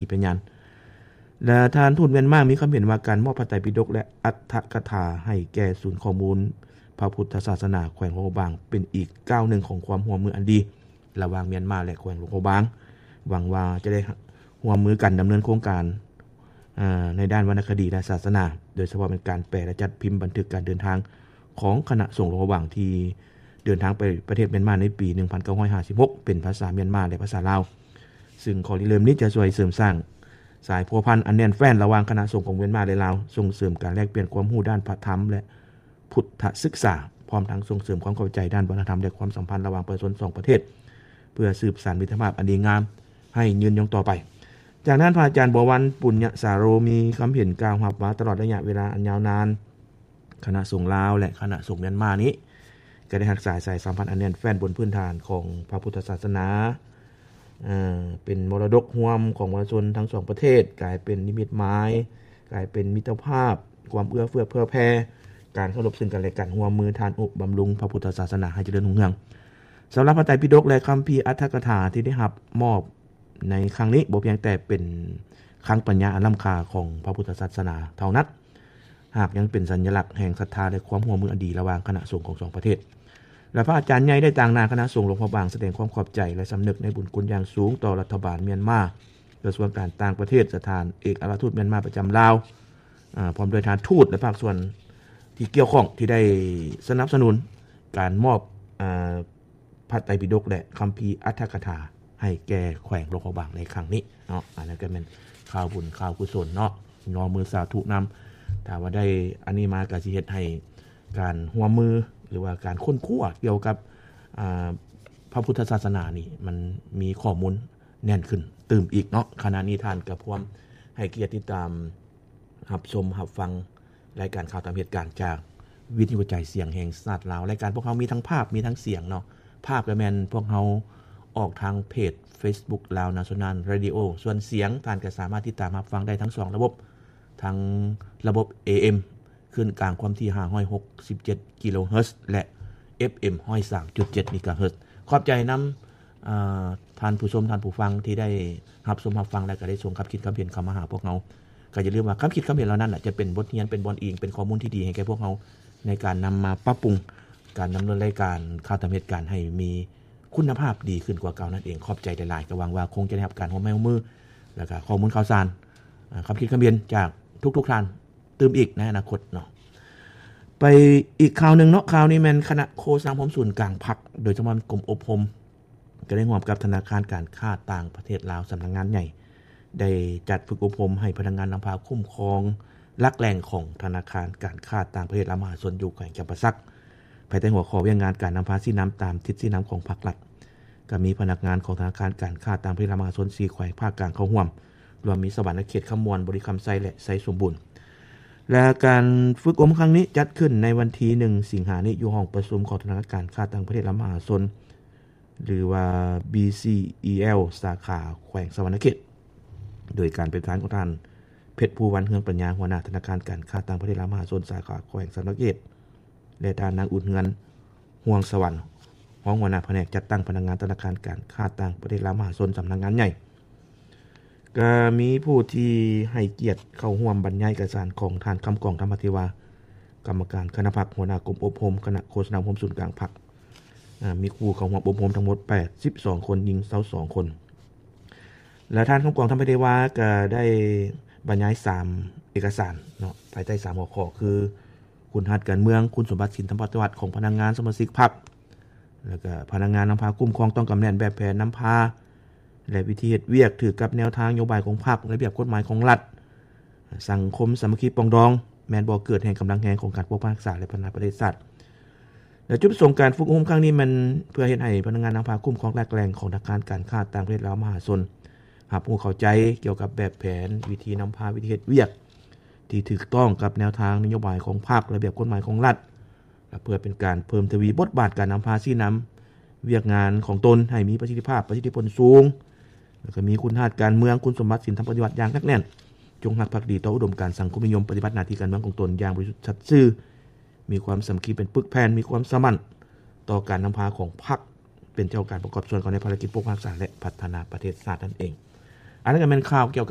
ທີ່ເປັນຍານ ແລະ ທ່ານທູດມຽນມາມີຄຳເຫັນວ່າ ການມອບພະໄຕປິດົກ ແລະ ອັດຖະກະຖາໃຫ້ແກ່ສູນຂໍ້ມູນພະພຸດທະສາສະໜາແຂວງຫຼວງພະບາງ ເປັນອີກກ້າວໜຶ່ງຂອງຄວາມຮ່ວມມືອັນດີ ລະຫວ່າງມຽນມາ ແລະ ແຂວງຫຼວງພະບາງ. ຫວັງວ່າຈະໄດ້ຮ່ວມມືກັນດຳເນີນໂຄງການ ເອີ ໃນດ້ານວັນນະຄະດີ ແລະ ສາສະໜາ, ໂດຍສະເພາະແມ່ນການແປ ແລະ ຈັດພິມບັນທຶກການເດີນທາງຂອງຄະນະສົງຫຼວງພະບາງ ທີ່ເດີນທາງໄປປະເທດມຽນມາໃນປີໜຶ່ງພັນເກົ້າຮ້ອຍຫ້າສິບຫົກ ເປັນພາສາມຽນມາ ແລະ ພາສາລາວ, ຊຶ່ງຂໍ້ລິເລີ່ມນີ້ຈະຊ່ວຍເສີມສ້າງສາຍພົວພັນອັນແໜ້ນແຟ້ນລະຫວ່າງຄະນະສົງຂອງມຽນມາ ແລະ ລາວ, ສົ່ງເສີມການແລກປ່ຽນຄວາມຮູ້ດ້ານພະທຳ ແລະ ພຸດທະສຶກສາ, ພ້ອມທັງສົ່ງເສີມຄວາມເຂົ້າໃຈດ້ານວັດທະນະທຳ ແລະ ຄວາມສຳພັນລະຫວ່າງປະຊາຊົນສອງປະເທດ ເພື່ອສືບສານມິດຕະພາບອັນດີງາມໃຫ້ຍືນຍົງຕໍ່ໄປ. ຈາກນັ້ນ ພະອາຈານ ບົວວັນ ປຸນຍະສາໂຣ ມີຄຳເຫັນກ່າວຮັບວ່າ ຕະຫຼອດໄລຍະເວລາອັນຍາວນານ ຄະນະສົງລາວ ແລະ ຄະນະສົງມຽນມານີ້ ກໍໄດ້ຮັກສາສາຍສຳພັນອັນແໜ້ນແຟ້ນບົນພື້ນຖານຂອງພະພຸດທະສາສະໜາ, ເປັນມໍລະດົກຮ່ວມຂອງປະຊາຊົນທັງສອງປະເທດ, ກາຍເປັນນິມິດໝາຍ, ກາຍເປັນມິດຕະພາບ, ຄວາມເອື້ອເຟື້ອເຜື່ອແຜ່, ການເຄົາລົບເຊິ່ງກັນແລະກັນ, ຮ່ວມມືທານອຸບຳລຸງພະພຸດທະສາສະໜາໃຫ້ຈະເລີນຮຸ່ງເຮືອງ. ສຳລັບພະໄຕປິດົກ ແລະ ຄຳພີອັດຖະກະຖາທີ່ໄດ້ຮັບມອບໃນຄັ້ງນີ້ ບໍ່ພຽງແຕ່ເປັນຄັງປັນຍາອັນລ້ຳຄ່າຂອງພະພຸດທະສາສະໜາເທົ່ານັ້ນ, ຫາກຍັງເປັນສັນຍະລັກແຫ່ງສັດທາ ແລະ ຄວາມຮ່ວມມືອັນດີລະຫວ່າງຄະນະສົງຂອງສອງປະເທດ. ແລະ ພະອາຈານໃຫຍ່ໄດ້ຕາງໜ້າຄະນະສົງຫຼວງພະບາງສະແດງຄວາມຂອບໃຈ ແລະ ສຳນຶກໃນບຸນຄຸນຢ່າງສູງຕໍ່ລັດຖະບານມຽນມາ, ກະຊວງການຕ່າງປະເທດ, ສະຖານເອກອັກຄະລັດທູດມຽນມາປະຈຳລາວ, ອາ, ພ້ອມດ້ວຍທ່ານທູດ ແລະ ພາກສ່ວນທີ່ກ່ຽວຂ້ອງທີ່ໄດ້ສະໜັບສະໜູນການມອບ, ອາ, ພະໄຕປິດົກ ແລະ ຄຳພີອັດຖະກະຖາໃຫ້ແກ່ແຂວງຫຼວງພະບາງໃນຄັ້ງນີ້ເນາະ. ອັນນັ້ນກໍແມ່ນຂ່າວບຸນຂ່າວກຸສົນເນາະ, ຍໍມືສາທຸນຳ. ຖ້າວ່າໄດ້ອັນນີ້ມາກໍຊິເຮັດໃຫ້ການຮ່ວມມື ຫຼືວ່າການຄົ້ນຄວ້າກ່ຽວກັບ, ອາ, ພະພຸດທະສາສະໜານີ້ ມັນມີຂໍ້ມູນແໜ້ນຂຶ້ນຕື່ມອີກເນາະ. ຂະນະນີ້ທ່ານກໍພວມໃຫ້ກຽດຕິດຕາມ ຮັບຊົມຮັບຟັງລາຍການຂ່າວຕາມເຫດການຈາກວິທະຍຸກະຈາຍສຽງແຫ່ງຊາດລາວ. ລາຍການພວກເຮົາມີທັງພາບ ມີທັງສຽງເນາະ. ພາບກໍແມ່ນພວກເຮົາອອກທາງເພຈເຟສບຸກ Lao National Radio, ສ່ວນສຽງທ່ານກໍສາມາດຕິດຕາມຮັບຟັງໄດ້ທັງສອງລະບົບ, ທັງລະບົບ ເອເອັມ ຄື້ນກາງຄວາມຖີ່ຫ້າຮ້ອຍຫົກສິບເຈັດກິໂລເຮີດ ແລະ ເອັຟເອັມຮ້ອຍສາມຈຸດເຈັດເມກາເຮີດ. ຂອບໃຈນຳ ອາ ທ່ານຜູ້ຊົມ ທ່ານຜູ້ຟັງທີ່ໄດ້ຮັບຊົມຮັບຟັງ ແລະ ກໍໄດ້ສົ່ງຄຳຄິດຄຳເຫັນເຂົ້າມາຫາພວກເຮົາ. ກໍຢ່າລືມວ່າຄຳຄິດຄຳເຫັນເຫຼົ່ານັ້ນແຫຼະ ຈະເປັນບົດຮຽນ ເປັນບ່ອນອີງ ເປັນຂໍ້ມູນທີ່ດີໃຫ້ແກ່ພວກເຮົາ ໃນການນຳມາປັບປຸງການດຳເນີນລາຍການຂ່າວຕາມເຫດການໃຫ້ມີຄຸນນະພາບດີຂຶ້ນກວ່າເກົ່ານັ້ນເອງ. ຂອບໃຈຫຼາຍໆ, ກໍຫວັງວ່າຄົງຈະໄດ້ຮັບການຮ່ວມໄມ້ຮ່ວມມື ແລ້ວກໍຂໍ້ມູນຂ່າວສານ, ອາ, ຄຳຄິດຄຳເຫັນຈາກທຸກໆທ່ານຕື່ມອີກໃນອະນາຄົດເນາະ. ໄປອີກຂ່າວໜຶ່ງເນາະ, ຂ່າວນີ້ແມ່ນຄະນະໂຄສະນາອົບຮົມສູນກາງພັກ ໂດຍສະເພາະກົມອົບຮົມ ກໍໄດ້ຮ່ວມກັບທະນາຄານການຄ້າຕ່າງປະເທດລາວ ສຳນັກງານໃຫຍ່ ໄດ້ຈັດຝຶກອົບຮົມໃຫ້ພະນັກງານນຳພາຄຸ້ມຄອງຫຼັກແຫຼ່ງຂອງທະນາຄານການຄ້າຕ່າງປະເທດລາວມະຫາຊົນ ຢູ່ແຂວງຈຳປາສັກ ພາຍໃຕ້ຫົວຂໍ້ວຽກງານການນຳພາຊີ້ນຳຕາມທິດຊີ້ນຳຂອງພາກລັດ. ກໍມີພະນັກງານຂອງທະນາຄານການຄ້າຕ່າງປະເທດລາວມະຫາຊົນ ສີ່ແຂວງພາກກາງເຂົ້າຮ່ວມ, ລວມມີສະຫວັນນະເຂດ, ຄຳມ່ວນ, ບໍລິຄຳໄຊ ແລະ ໄຊສົມບູນ. ແລະ ການຝຶກອົບຮົມຄັ້ງນີ້ຈັດຂຶ້ນໃນວັນທີໜຶ່ງ ສິງຫານີ້ ຢູ່ຫ້ອງປະຊຸມຂອງທະນາຄານການຄ້າຕ່າງປະເທດລາວມະຫາຊົນ ຫຼືວ່າ ບີຊີອີແອລ ສາຂາແຂວງສະຫວັນນະເຂດ ໂດຍການເປັນປະທານຂອງທ່ານ ເພັດພູວັນ ເຮືອງປັນຍາ ຫົວໜ້າທະນາຄານການຄ້າຕ່າງປະເທດລາວມະຫາຊົນ ສາຂາແຂວງສະຫວັນນະເຂດ ແລະ ທ່ານນາງ ອຸ່ນເຮືອນ ຮ່ວງສະຫວັນ ຮອງຫົວໜ້າພະແນກຈັດຕັ້ງພະນັກງານທະນາຄານການຄ້າຕ່າງປະເທດລາວມະຫາຊົນ ສຳນັກງານໃຫຍ່. ກໍມີຜູ້ທີ່ໃຫ້ກຽດເຂົ້າຮ່ວມບັນຍາຍເອກະສານຂອງທ່ານ ຄຳກອງ ທຳມະເທວາ ກຳມະການຄະນະພັກ ຫົວໜ້າກົມອົບຮົມ ຄະນະໂຄສະນາອົບຮົມສູນກາງພັກ, ອາ, ມີຜູ້ເຂົ້າຮ່ວມອົບຮົມທັງໝົດແປດສິບສອງຄົນ, ຍິງຊາວສອງຄົນ. ແລະ ທ່ານ ຄຳກອງ ທຳມະເທວາ ກໍໄດ້ບັນຍາຍສາມເອກະສານເນາະ, ພາຍໃຕ້ສາມຫົວຂໍ້ ຄື ຄຸນສະມບັດການເມືອງ, ຄຸນສົມບັດສິນທຳປະຕິວັດຂອງພະນັກງານສະມາຊິກພັກ, ແລ້ວກໍພະນັກງານນຳພາຄຸ້ມຄອງຕ້ອງກຳແໜ້ນແບບແຜນນຳພາ ແລະ ວິທີເຮັດວຽກຖືກກັບແນວທາງນະໂຍບາຍຂອງພັກ, ລະບຽບກົດໝາຍຂອງລັດ, ສັງຄົມສາມັກຄີປອງດອງ ແມ່ນບໍ່ເກີດແຫ່ງກຳລັງແຮງຂອງການປົກປັກຮັກສາ ແລະ ພັດທະນາປະເທດຊາດ. ແລະ ຈຸດປະສົງການຝຶກອົບຮົມຄັ້ງນີ້ແມ່ນເພື່ອເຮັດໃຫ້ພະນັກງານນຳພາຄຸ້ມຄອງຫຼັກແຫຼ່ງຂອງທະນາຄານການຄ້າຕ່າງປະເທດລາວມະຫາຊົນ ຮັບຮູ້ເຂົ້າໃຈກ່ຽວກັບແບບແຜນ, ວິທີນຳພາ, ວິທີເຮັດວຽກທີ່ຖືກຕ້ອງກັບແນວທາງນະໂຍບາຍຂອງພັກ, ລະບຽບກົດໝາຍຂອງລັດ ແລະ ເພື່ອເປັນການເພີ່ມທະວີບົດບາດການນຳພາຊີ້ນຳວຽກງານຂອງຕົນໃຫ້ມີປະສິດທິພາບ, ປະສິດທິຜົນສູງ ແລ້ວກໍມີຄຸນສະມບັດການເມືອງ, ຄຸນສົມບັດສິນທຳປະຕິວັດຢ່າງໜັກແໜ້ນ, ຈົ່ງຮັກພັກດີຕໍ່ອຸດົມການສັງຄົມນິຍົມ, ປະຕິບັດໜ້າທີ່ການເມືອງຂອງຕົນຢ່າງບໍລິສຸດສັດຊື່, ມີຄວາມສາມັກຄີເປັນປຶກແຜ່ນ, ມີຄວາມສະໝັ້ນຕໍ່ການນຳພາຂອງພັກ, ເປັນເຈົ້າການປະກອບສ່ວນເຂົ້າໃນພາລະກິດປົກປັກຮັກສາ ແລະ ພັດທະນາປະເທດຊາດນັ້ນເອງ. ອັນນັ້ນກໍແມ່ນຂ່າວກ່ຽວກັບ